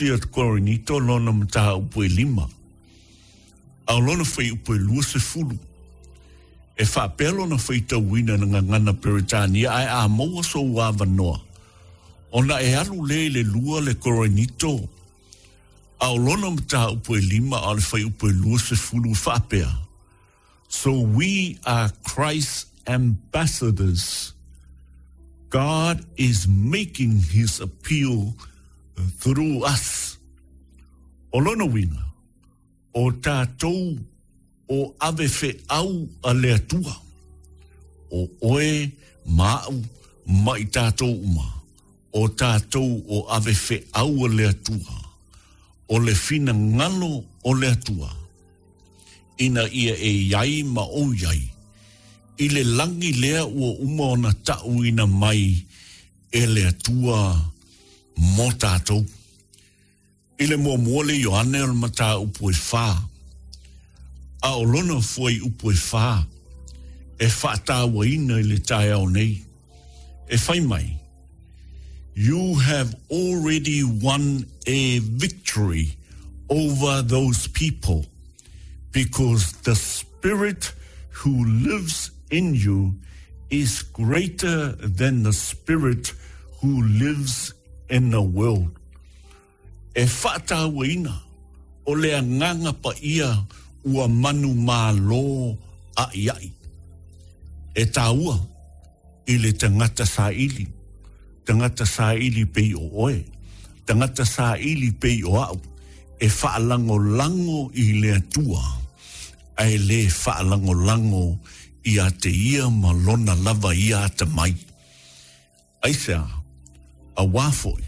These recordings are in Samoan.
Ia Korinito lona mataupu e lima, a o lona fuaiupu e 20, e faapea lona faitauina i le gagana Peretania, ae a maua sou avanoa, ona e alu lea i le lua le Korinito, a o lona mataupu e lima, a o le fuaiupu e 20, e faapea, So we are Christ's ambassadors. God is making his appeal through us. O lona uiga, o tatou o ave feau a le Atua, o oe ma a'u ma i tatou uma, o tatou o ave feau a le Atua, o le finagalo o le Atua, ina ia e i ai ma ou i ai i le lagi lea ua uma ona ta'uina mai e le Atua mo tatou. I le muamua le Ioane o le mataupu e fā, a o lona fuaiupu e fā e faataauaina i le taeao nei, e fai mai, You have already won a victory over those people because the spirit who lives in you is greater than the spirit who lives in the world. E faatauaina o le agaga paia ua manumalo aʻiaʻi. E taua i le tagata saili, tagata saili pei o oe, tagata saili pei o aʻu, e faalagolago i le Atua, ae le faalagolago ia te ia ma lona lava ia atamai. Aisea? Auā foi,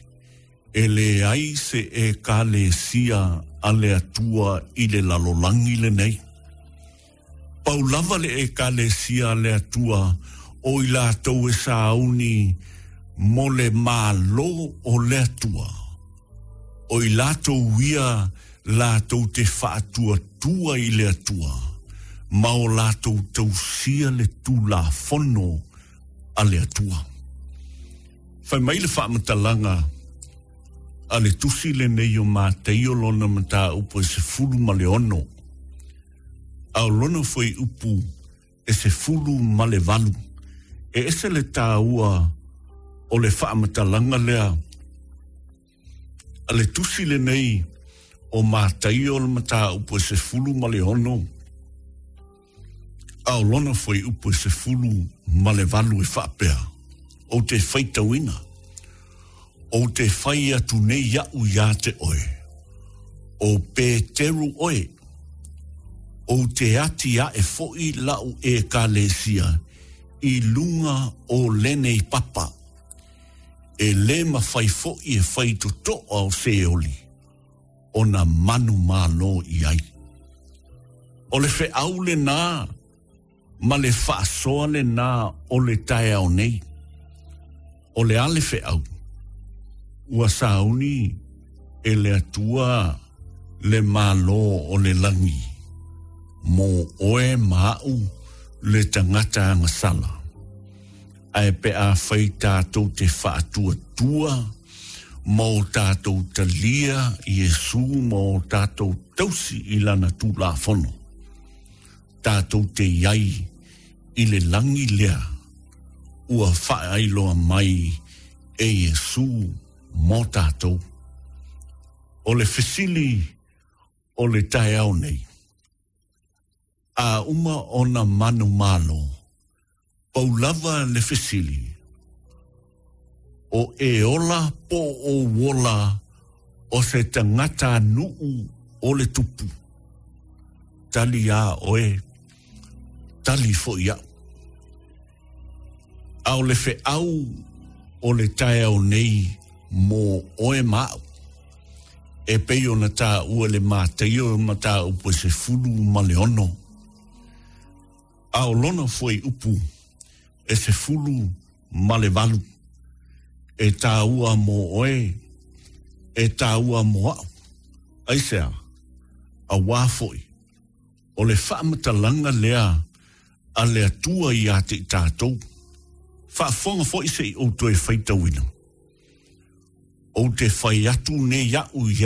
e leai se Ekalesia a le Atua i le lalolagi lenei. Pau lava le Ekalesia a le Atua o i latou e sauni mo le Malo o le Atua, o i latou ia latou te faatuatua i le Atua ma o latou tausia le Tulafono a le Atua. Fai mai le faamatalaga a le tusi lenei o Mataio lona mataupu e 16, a o lona fuaiupu e 18. E ese le taua o le faamatalaga lea a le tusi lenei o Mataio le mataupu e 16, a o lona fuaiupu e 18 e faapea, Ou te faitauina, ou te fai atu nei iaʻu iā te oe, ʻo Peteru ʻoe, ou te ati aʻe foʻi laʻu ʻekalesia i luga o lenei papa, e lē mafai foʻi e fai totoʻa o Seoli ona manumalo i ai. O le feʻau lenā ma le faasoa lenā o le taeao nei. O le a le feʻau? Ua sauni e le Atua le Malo o le lagi mo oe ma aʻu le tagata agasala. Ae pe afai tatou te faatuatua ma o tatou talia Iesu ma o tatou tausi i lana Tulafono, tatou te i ai i le lagi lea ua faailoa mai e Iesu mo tatou. O le fesili o le taeao nei, A uma ona manumalo, pau lava le fesili, o e ola po o ou ola o se tagata nuu o le tupu? Tali iā oe, tali foi iaʻu. A o le feʻau o le taeao nei mo oe ma aʻu, e pei ona taua le Mataio mataupu e 16, a o lona fuaiupu e 18, e taua mo oe, e taua mo aʻu. Aisea? Auā foi, o le faamatalaga lea a le Atua iā te i tatou. Faafofoga foi se i ou toe faitauina. Ou te fai atu nei au iā.